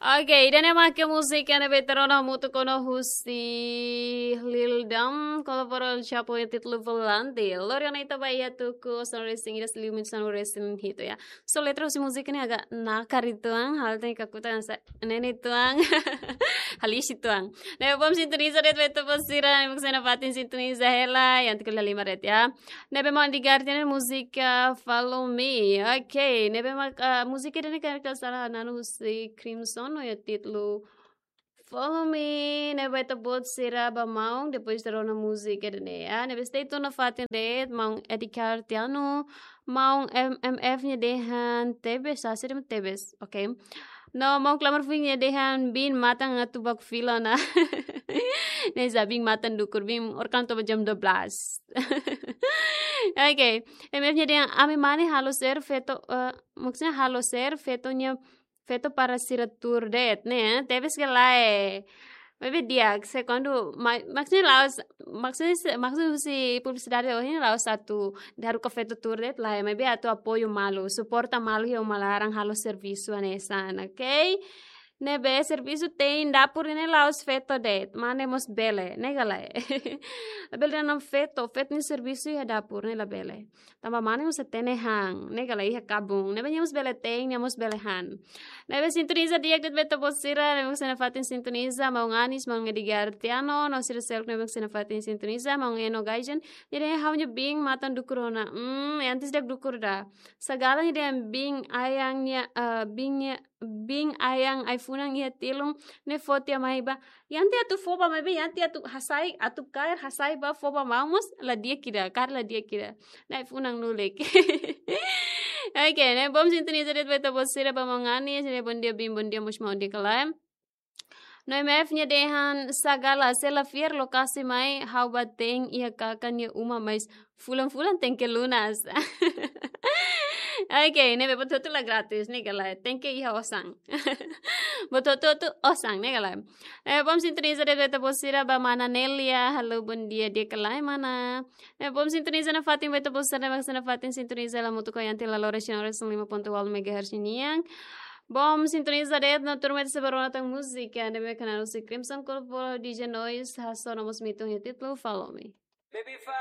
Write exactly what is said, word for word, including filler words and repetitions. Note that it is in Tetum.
Oke, ida-ne'e mak múzika ne'ebé ita rona hamutuk ona husi Lil Dam, kolabora Chapo iha títulu Volante. Lori ona ita ba iha tuku, sonoresin ida liu min sonoresin hitu ya. So letra husi múzika ne'e agak nakar uitoan, hal tenke kakutan sa nene uitoan. Halis uitoan. Ne'ebé bom sintoniza de'it ba ita-boot sira, ne'ebé mak sei nafatin sintoniza hela, iha tiga lima de'it ya. Ne'ebé mak Edgar Tiano nia múzika Follow Me. Oke, ne'ebé mak, ah, múzika ida-ne'e karik la sala na'an husi Crimson, no iha títulu Follow Me. Ne'ebé ita-boot sira ba maun, depois ita rona múzika ida-ne'e ya. Ne'ebé stay tune nafatin de'it, maun Edgar Tiano, maun M M F nia dehan tebes, sa sira tebes, oke. No maun Klamar Fuin nia dehan biin matan atu baku fila ona. Ne'e sa biin matan dukur, biin orkan toba jam dua belas. Oke, M F nia dehan ami mane halo share feto, eh, maksudnya halo share feto nia, feto para sira tuur de'it, ne'e, tebes ka lae. Maibé di'ak, se kuandu, ma-, maksudnya la'ós, maksudnya se, maksudnya husi publisidade ohin la'ós atu haruka feto tuur de'it lae, maibé atu apoiu malu, suporta malu iha uma laran halo servisu hanesan, oke? Ne'ebé servisu te'in dapur ne'e la'ós feto de'it, mane mós bele, ne'e ka lae? Labele dehan feto, feto nia servisu iha dapur ne'e labele. Tanba mane mós hatene han, ne'e ka lae, iha kabun. Ne'ebé nia mós bele te'in, nia mós bele han. Ne'ebé sintoniza di'ak de'it ba ita-boot sira, ne'ebé mak sei nafatin sintoniza, maun Anis, maun Edgar Tiano, no sira seluk ne'ebé mak sei nafatin sintoniza, maun Eno Gajen. Jadi ha'u-nia biin matan dukur ona. Hmm, antes dak dukur ida. Sagala nia dehan biin ayang nia, eh, biin nia, biin ayang ai-funan iha tilun, ne'e foti amai ba. Yanti atu fó ba maibé, yanti atu hasai, atu kaer hasai ba fó ba maun mós la di'ak ida, kaer la di'ak ida. Ne'e ai-funan lulik. Oke, ne'e bom sintoniza de'it ba ita-boot sira ba maun Anis, ne'e bom dia biin, bom dia mós maun, di'ak ka lae? No M F nia dehan sagala se la fiar lokasi mai, ha'u bá te'in iha kakan nia uma, mas fulan-fulan tenke lunas. Oke, ne'ebé buat hotu la gratis, ne'e ka lae, tenke iha osan. Buat hotu osan, ne'e ka lae? Eh, bom sintoniza de'it ba ita-boot sira ba mana Nelia, halo bom dia, di'ak ka lae mana? Eh, bom sintoniza nafatin ba ita-boot sira ne'ebé mak sei nafatin sintoniza hela hamutuk ho Yanti La Lora, sinoras lima ponto walu megahertz nian. Bom sintoniza de'it no tuirmai ita sei bá rona tan múzika ne'ebé mak hanesan husi Crimson Corpo, D J Noise, hasoru mós mitun iha títulu Follow Me. Baby, follow